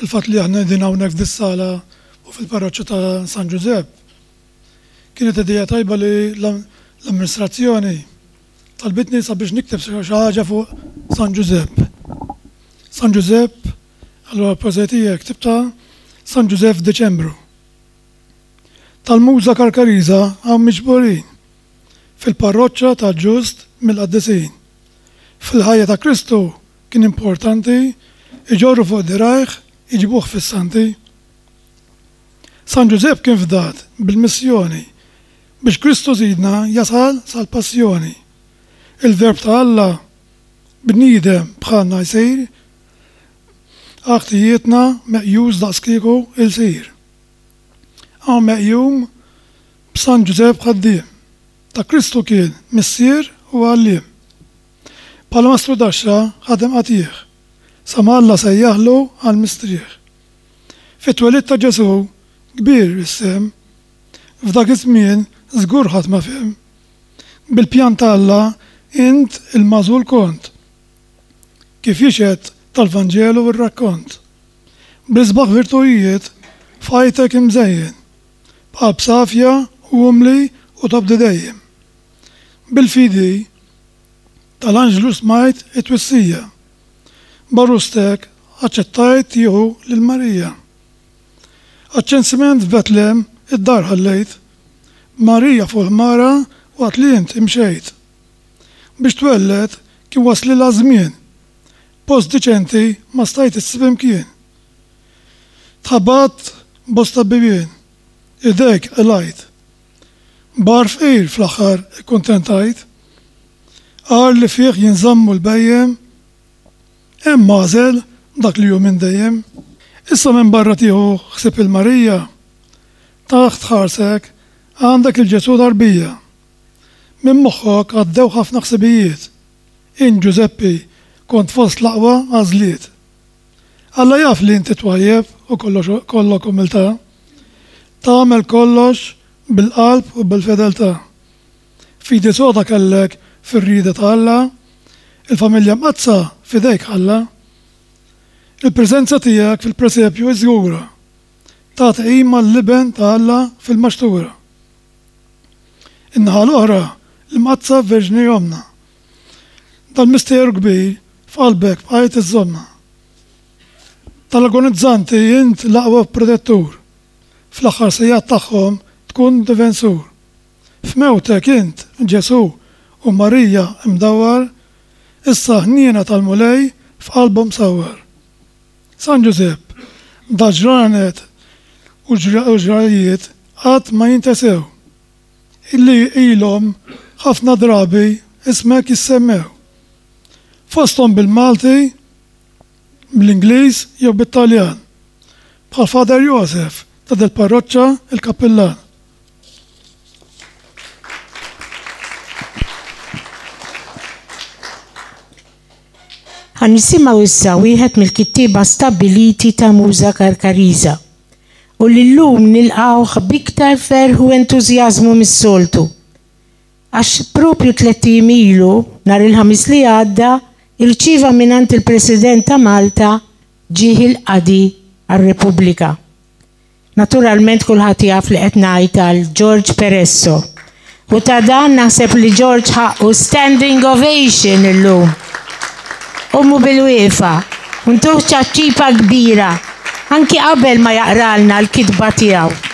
Il-fatt li aħna qegħdin hawnhekk f'dis-sala u fil-parroċċa ta' San Ġużepp, kienet idea tajba li l-amministrazzjoni talbitni sabiex nikteb xi ħaġa fuq San Ġużepp. San Ġużepp, allura l-poeżija tiegħi ktibtha San Ġużepp f'Diċembru. Tal-Muża Karkariża hawn miġburin fil-parroċċa tal-Ġust mill-Qaddisin. Fil-ħajja ta' Kristu kien importanti iġorru fuq dirgħajh iġibuh fis-santi. San Ġużepp kien fdat bil-missjoni biex Kristu Sidna jasal sal-passjoni. Il-Verb ta' Alla bniedem bħalna jsir, għal ħtijietna meqjus daqskieku ilsir. Hawn meqjum b'San Ġużepp ħaddiem, ta' Kristu kien missier u għalliem. Bħala mastrudaxxa ħadem qatigħ, sa ma Alla sejjaħlu għall-mistrieħ. Fit-twelid ta' Ġesù kbir is-sehem. F'dak iż-żmien żgur ħadd ma fehem. Bil-pjan ta' Alla int il-magħżul kont. Kif jixhed tal-Vanġelu r-rakkont. Bl-isbaħ virtujiet f'ħajtek imżejjen. B'qalb safja u umli u tobdi dejjem. Bil-fidi tal-anġlu smajt it-twissija. B'għarustek aċċettajt tieħu lil Marija. Għaċ-ċensiment f'Betlem id-dar ħallejt, b'Marija fuq il-ħmara waqt li int imxejt. Biex twelled kien waslilha ż-żmien, post diċenti ma stajt issib imkien. Tħabatt bosta bibien, idejk qlajt. B'għar fqir fl-aħħar ikkuntentajt. Għar li fih jinżammu l-bhejjem, hemm għażel dak li hu minn dejjem. Issa minbarra tieħu ħsieb il-Marija, taħt ħarsek għandek il-Ġesù tarbija. Minn moħħok għaddew ħafna ħsibijiet. Int Ġużeppi kont fost l-aqwa għażliet. Alla jaf li inti twajjeb u kollox kollok umiltà. Tagħmel kollox bil-qalb u bil-fedeltà. Fidi soda kellek fir-rieda ta' Alla, il-familja mqaddsa f'idejk ħalla. Il-preżenza tiegħek fil-presepju hi żgura, tagħti qima l-Iben ta' Alla fil-maxtura. In-naħa l-oħra, l-Imqaddsa Verġni Ommna. Dal-misteru kbir f'qalbek bqajt iżżommha. Tal-agonizzanti int l-aqwa protettur, fl-aħħar sigħat tagħhom tkun difensur. F'mewtek int, Ġesù, u Marija mdawwar, issa ħniena tal-Mulej f'qalbhom sawwar. San Ġużepp, dal-ġranet u ġrajjiet qatt ma jintesew, illi ilhom ħafna drabi ismek jissemmew. Fosthom bil-Malti, bl-Ingliż jew bit-Taljan, bħal Father Joseph ta' dil-parroċċa il-kappillan. Ħa nisimgħu issa wieħed mill-kittieba stabbiliti ta' Muża Karkariża u li llum nilqgħuh b'iktar ferħ u entużjażmu mis-soltu. Għax proprju tlett ijiem ilu, nhar il-Ħamis li għadda, irċieva mingħand il-President ta' Malta ġieħ il-qadi għar-Repubblika. Naturalment kulħadd jaf li qed ngħid għal George Peresso. U ta' dan naħseb li George ħaqqu standing ovation illum. Qumu bil-wieqfa u ntuh ċaċċipa kbira anki qabel ma jaqralna l-kitba tiegħu.